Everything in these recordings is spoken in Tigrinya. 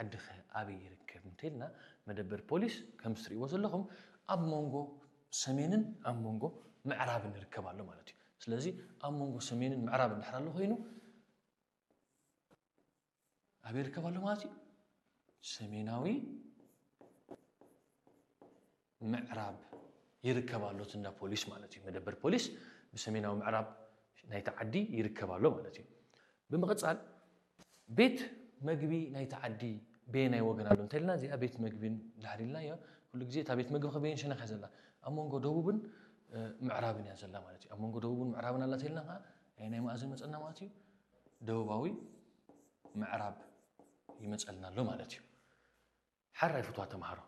ዓድኸ ኣበይ ይርከብ እንተልና፣ መደበር ፖሊስ ከምዚ ትርእይዎ ዘለኹም ኣብ መንጎ ሰሜንን ኣብ መንጎ ምዕራብን ይርከብ ኣሎ ማለት እዩ። ስለዚ ኣብ መንጎ ሰሜንን ምዕራብን ድሕር ኣሎ ኮይኑ ኣበይ ይርከብ ኣሎ ማለት እዩ? ሰሜናዊ ምዕራብ ይርከብ ኣሎ እቲ እንዳ ፖሊስ ማለት እዩ። መደበር ፖሊስ ብሰሜናዊ ምዕራብ ናይቲ ዓዲ ይርከብ ኣሎ ማለት እዩ። ብምቕጻል ቤት መግቢ ናይቲ ዓዲ በየናይ ወገን ኣሎ እንተልና፣ እዚኣ ቤት መግቢ እንድሕር ኢልናዮ፣ ኩሉ ግዜ እታ ቤት መግቢ ከበየን ሸነኽ እያ ዘላ? ኣብ መንጎ ደቡብን ምዕራብን እያ ዘላ ማለት እዩ። ኣብ መንጎ ደቡብን ምዕራብን ኣላ እንተልና ከዓ ናይ ናይ መኣዝን መፀና ማለት እዩ? ደቡባዊ ምዕራብ ይመፀልና ኣሎ ማለት እዩ። ሓራይ ፍትዋ ተምሃሮ፣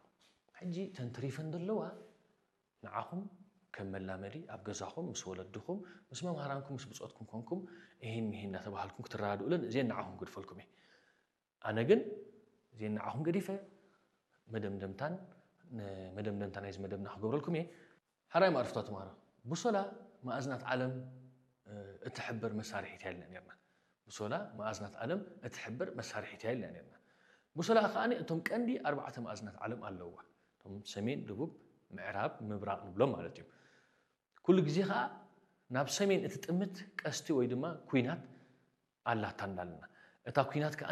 ሕጂ ተንትሪፈን ዘለዋ ንዓኹም ከም መላመዲ ኣብ ገዛኹም ምስ ወለድኹም ምስ መምሃራንኩም ምስ ብፆትኩም ኮንኩም እሂን ምሂን እናተባሃልኩም ክትረዳድኡለን እዚአን ንዓኹም ግድፈልኩም እየ። ኣነ ግን እዚአን ንዓኹም ገዲፈ መደምደምታን መደምደምታ ናይዚ መደብና ክገብረልኩም እየ። ሓራይ ማዕርፍታ ተምሃሮ፣ ብሶላ መኣዝናት ዓለም እትሕብር መሳርሒት እያ ኢልና ነርና። ብሶላ መኣዝናት ዓለም እትሕብር መሳርሒት እያ ኢልና ነርና። ብሶላ ከኣ እቶም ቀንዲ ኣርባዕተ መኣዝናት ዓለም ኣለዋ። እቶም ሰሜን፣ ደቡብ፣ ምዕራብ፣ ምብራቕ ንብሎም ማለት እዩ። ኩሉ ግዜ ከኣ ናብ ሰሜን እትጥምት ቀስቲ ወይ ድማ ኩናት ኣላታ እንዳልና፣ እታ ኩናት ከኣ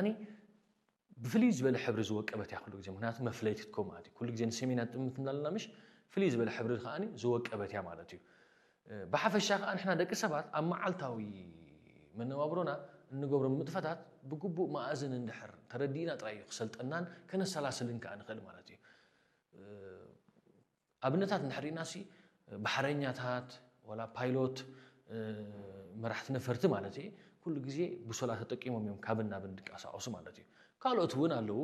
ብፍልይ ዝበለ ሕብሪ ዝወቀበት እያ ኩሉ ግዜ። ምክንያቱ መፍለይቲ ትኮ ማለት እዩ። ኩሉ ግዜ ንሰሜን እያ ትጥምት እንዳልና ምሽ ፍልይ ዝበለ ሕብሪ ከኣ ዝወቀበት እያ ማለት እዩ። ብሓፈሻ ከኣ ንሕና ደቂ ሰባት ኣብ መዓልታዊ መነባብሮና እንገብሮም ንጥፈታት ብግቡእ መኣዝን እንድሕር ተረዲእና ጥራይ እዩ ክሰልጠናን ከነሰላስልን ከኣ ንኽእል ማለት እዩ። ኣብነታት እንድሕር ርኢና ሲ ባሕረኛታት ዋላ ፓይሎት መራሕቲ ነፈርቲ ማለት እዩ ኩሉ ግዜ ብሶላ ተጠቂሞም እዮም ካብን ናብን ድንቀሳቀሱ ማለት እዩ። ካልኦት እውን ኣለዉ።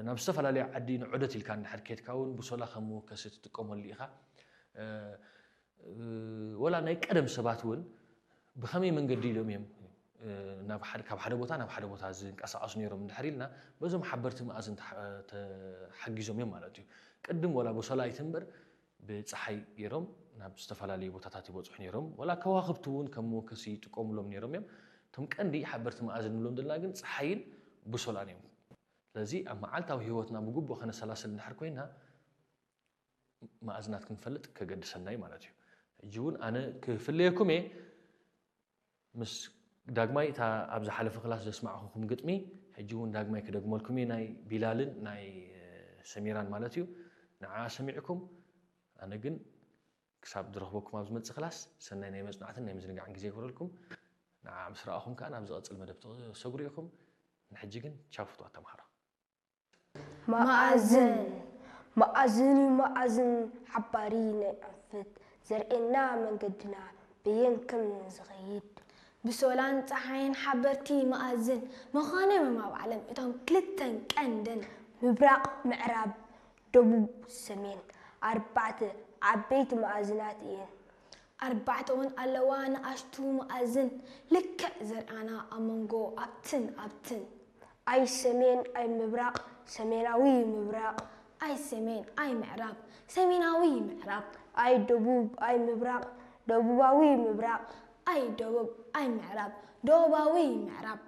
ናብ ዝተፈላለዩ ዓዲ ንዑደት ኢልካ እንድሕር ከድካ እውን ብሶላ ከም መወከሲ ትጥቀመሉ ኢኻ። ወላ ናይ ቀደም ሰባት እውን ብኸመይ መንገዲ ኢሎም እዮም ናብ ሓደ ካብ ሓደ ቦታ ናብ ሓደ ቦታ ዝንቀሳቀሱ ነይሮም እንድሕር ኢልና በዞም ሓበርቲ መኣዝን ተሓጊዞም እዮም ማለት እዩ። ቅድም ወላ ብሶላ ኣይትንበር ብፀሓይ ገይሮም ናብ ዝተፈላለዩ ቦታታት ይበፅሑ ነይሮም። ወላ ከዋክብቲ እውን ከም መወከሲ ይጥቀሙሎም ነይሮም እዮም። እቶም ቀንዲ ሓበርቲ መኣዝን ንብሎም ዘለና ግን ፀሓይን ብሶላን እዮም። ስለዚ ኣብ መዓልታዊ ህይወትና ብግቡእ ከነሰላስል እንድሕር ኮይና መኣዝናት ክንፈልጥ ከገድሰና እዩ ማለት እዩ። ሕጂ እውን ኣነ ክፍለየኩም እየ። ምስ ዳግማይ እታ ኣብ ዝሓለፈ ክላስ ዘስማዕኹኹም ግጥሚ ሕጂ እውን ዳግማይ ክደግመልኩም እየ። ናይ ቢላልን ናይ ሰሚራን ማለት እዩ። ንዓ ሰሚዕኩም ኣነ ግን ክሳብ ዝረኽበኩም ኣብ ዝመፅእ ክላስ ሰናይ ናይ መፅናዕትን ናይ ምዝንጋዕን ግዜ ይግበረልኩም። ንዓ ምስ ረኣኹም ከዓ ናብ ዝቐፅል መደብ ተሰግሩ ኢኹም። ንሕጂ ግን ቻው ፍትዋት ተምሃሮ። መኣዝን መኣዝን እዩ መኣዝን ሓባሪ ናይ ኣንፈት ዘርእየና መንገድና በየን ከም ንዝኸይድ። ብሶላን ጸሓይን ሓበርቲ መኣዝን ምዃኖም እዮም ኣብ ዓለም እቶም ክልተን ቀንድን። ምብራቕ ምዕራብ ደቡብ ሰሜን ኣርባዕተ ዓበይቲ መኣዝናት እየን። ኣርባዕተ እውን ኣለዋ ንኣሽቱ መኣዝን ልክዕ ዘርእያና ኣብ መንጎ ኣብትን ኣብትን። ኣይ ሰሜን ኣይ ምብራቕ ሰሜናዊ ምብራቕ። ኣይ ሰሜን ኣይ ምዕራብ ሰሜናዊ ምዕራብ። ኣይ ደቡብ ኣይ ምብራቕ ደቡባዊ ምብራቕ። ኣይ ደቡብ ኣይ ምዕራብ ደቡባዊ ምዕራብ።